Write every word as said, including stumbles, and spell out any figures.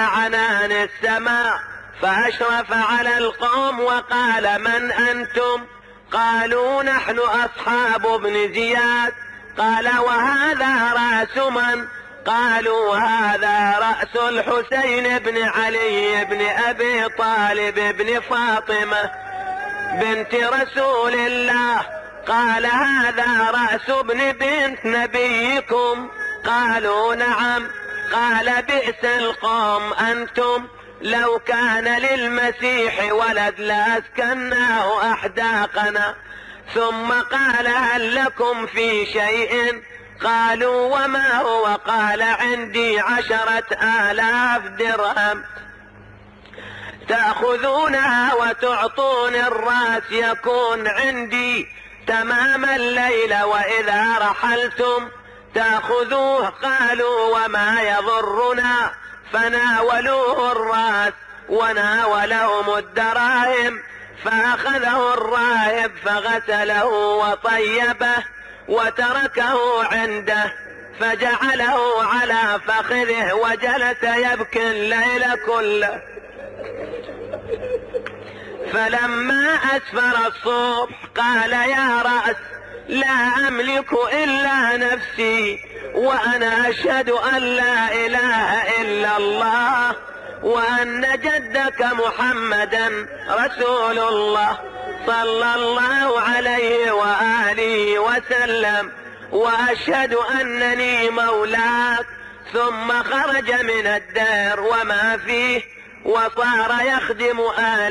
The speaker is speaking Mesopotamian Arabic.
عنان السماء فأشرف على القوم وقال: من أنتم؟ قالوا: نحن أصحاب ابن زياد. قال: وهذا رأس من؟ قالوا: هذا رأس الحسين بن علي بن أبي طالب بن فاطمة بنت رسول الله. قال: هذا رأس ابن بنت نبيكم. قالوا: نعم. قال: بئس القوم أنتم، لو كان للمسيح ولد لأسكناه أحداقنا. ثم قال: هل لكم في شيء؟ قالوا: وما هو؟ قال: عندي عشرة آلاف درهم تأخذونها وتعطون الرأس يكون عندي تمام الليل، وإذا رحلتم تأخذوه. قالوا: وما يضرنا؟ فناولوه الرأس وناولهم الدراهم. فأخذه الراهب فغسله وطيبه وتركه عنده، فجعله على فخذه وجلس يبكي الليل كله. فلما أسفر الصبح قال: يا رأس، لا أملك إلا نفسي، وأنا أشهد أن لا إله إلا الله وأن جدك محمدا رسول الله صلى الله عليه وآله وسلم، وأشهد أنني مولاك. ثم خرج من الدار وما فيه وصار يخدم آله.